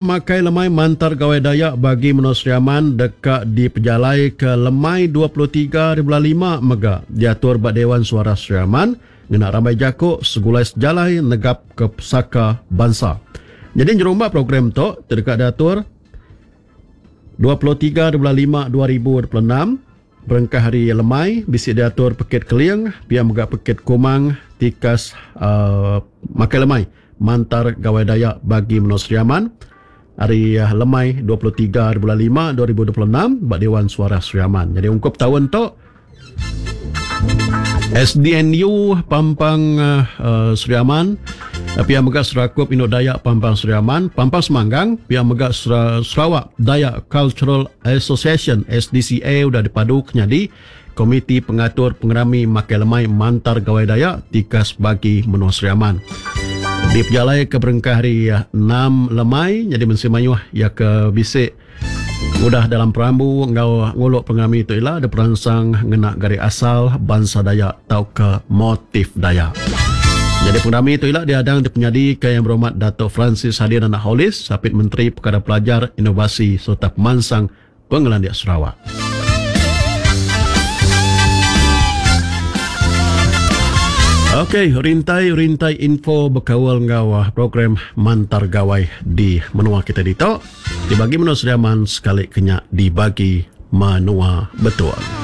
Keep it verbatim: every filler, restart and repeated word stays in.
Makai Lemai Mantar Gawai Dayak bagi menua Sri Aman deka dipejalai ke lemai dua puluh tiga hari bulan lima mega diatur ba Dewan Suara Sri Aman ngena rambai jaku Segulai Sejalai Negap ke Pesaka Bansa. Jadi nyerumba program tu ti deka diatur dua puluh tiga hari bulan lima dua ribu dua puluh enam berengkah hari lemai bisi diatur pekit keling pia mega pekit kumang tikas uh, makai lemai Mantar Gawai Dayak bagi menua Sri Aman hari lemai dua puluh tiga hari bulan lima dua ribu dua puluh enam ba Dewan Suara Sri Aman. Jadi ungkup tahun tu S D N U Pampang uh, Sri Aman, pia mega Serakup Indo Dayak Pampang Sri Aman, Pampang Semanggang, pia mega Sarawak Dayak Cultural Association S D C A udah dipadu kenyadi Komiti Pengatur Pengerami Makai Lemai Mantar Gawai Dayak tikas bagi menua Sri Aman. Di pejalai ke berengkah hari enam lemai, jadi mensi mayuh ya ke bisik udah dalam perambu ngau nguluk pengerami itu ialah ada perangsang ngena gari asal bangsa Dayak atau ke motif Dayak. Jadi pengerami itu ialah diadang di penyadi ke Yang Berhormat Dato' Francis Harden Anak Hollis, Sapit Menteri Perkara Pelajar, Inovasi serta Pemansang Pengelandik Sarawak. Okey, rintai-rintai info berkawal ngau program Mantar Gawai di menua kita ditok. Dibagi menua Sri Aman sekali kenyak dibagi menua betul.